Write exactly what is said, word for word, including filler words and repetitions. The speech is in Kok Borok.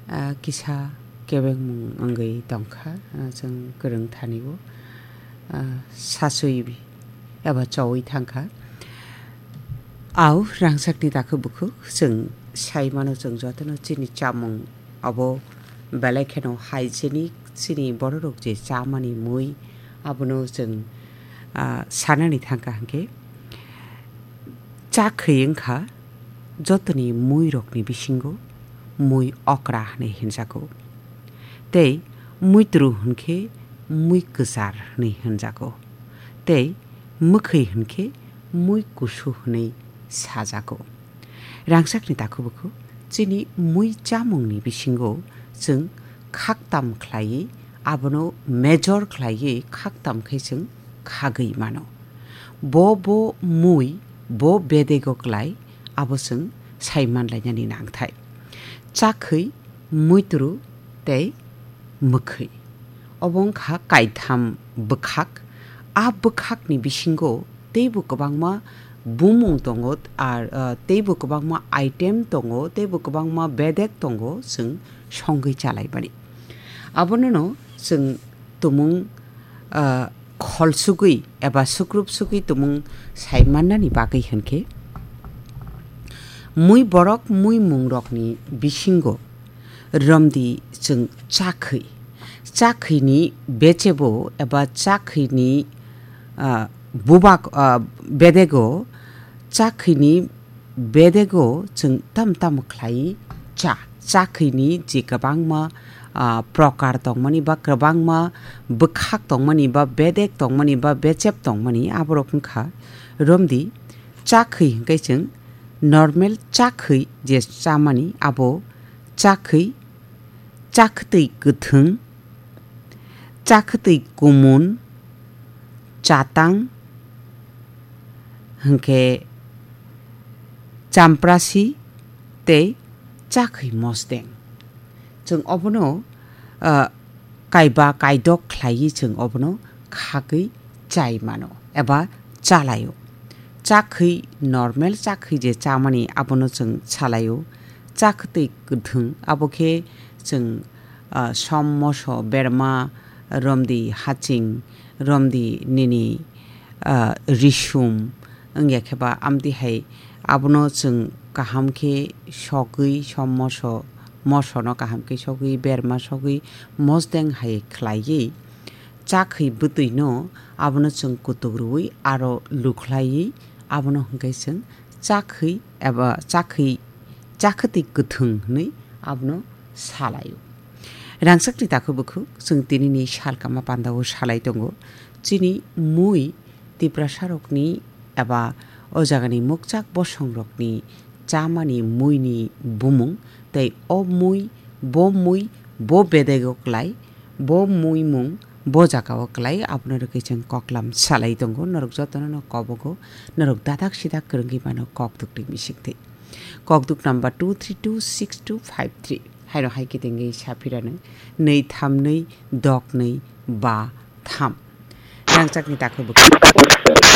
Ah, kisa kebengmung wngwi tongkha, ah, chwng kwrwng thani-o, ah, sasui eba chowi thangkha. Au rangchakni dakhu bukhuk chwng sai mano, chwng jotono chini chamung abo belai kheno hygienic, chini bororok je chamani mui abono chwng, ah, sanani thangkha hwnkhe. Cha khwi wngkha jotoni muirokni bisingo mui okra hwnwi hwnjago, tei muitru hwnkhe mui kwchar hwnwi hwnjago, tei mwkhwi hwnkhe mui kusu hwnwi sajago. Rangchakni dakhubuku chini mui chamungni bisingo chwng khaktam khlaiwi, abono major khlaiwi khaktam khe chwng khagwi mano. Bo bo mui, bo bedego klai, abo chwng sai manlainani nangthai. Chakhwi, muitru tei mwkhwi. Obo wngkha kaitham bwkhak. A bwkhakni bisingo teibo kwbangma bumung tongo, ar, ah, teibo kwbangma item tongo, teibo kwbangma bedek tongo, chwng songwi chalaimani. Abonono chwng tumung, ah, kholsugwi eba sukrup sugwi tumung sai mannani bagwi hwnkhe, mui borok mui mungrokni bisingo romdi chwng chakhwi. Chakhwini bechebo eba chakhwini, ah, bubak, ah, bedego, chakhwini bedego chwng tam tam khlai cha. Chakhwini je kwbangma, ah, prokar tongmani ba kwbangma bwkhak tongmani ba bedek tongmani ba bechep tongmani, aborok wngkha romdi chakhwi hwnkhe chwng normal chakhwi je chamani abo chakhwi, chakhwtwi kwthwng, chakhwtwi kumun, chatang, hwnkhe champrasi tei chakhwi mosdeng. Chwng obono, ah, kaiba kaidok khlaiwi chwng obono khagwi chai mano eba chalaio. Chakhwi normal chakhwi je chamani abono chwng salaio. Chakhwtwi kwthwng abo khe chwng, ah, som moso berma romdi haching romdi nini, ah, risum wngya khe ba amtwi hai abono chwng kaham khe sogwi som moso, mosono kaham khe sogwi berma sogwi mosdeng hai khlaiwi chakhwi bwtwino abono chwng kutuk rwui aro lukhlaiwi abono hwnkhe chwng chakhwi eba chakhwi, chakhwtwi kwthwng hwnwi abono salaio. Rangchakni dakhu bukhuk chwng tinini salkama pandao salai tongo. Chini mui Tiprasarokni eba o jagani mukchak bosongrokni chamani muini bumung tei o mui, bo mui, bo bedego klai, bo muimung bo jagao klai, abono rwgwi chwng koklam salai tongo. Norok jotono no kobogo, norok dadak sidak kwrwngwi mano kokdukni bisingtwi. Kokduk number two three two six two five three. Haino hai kitingwi saphirano nwi tham nwi dok nwi ba tham. Rangchakni dakhu bwkha.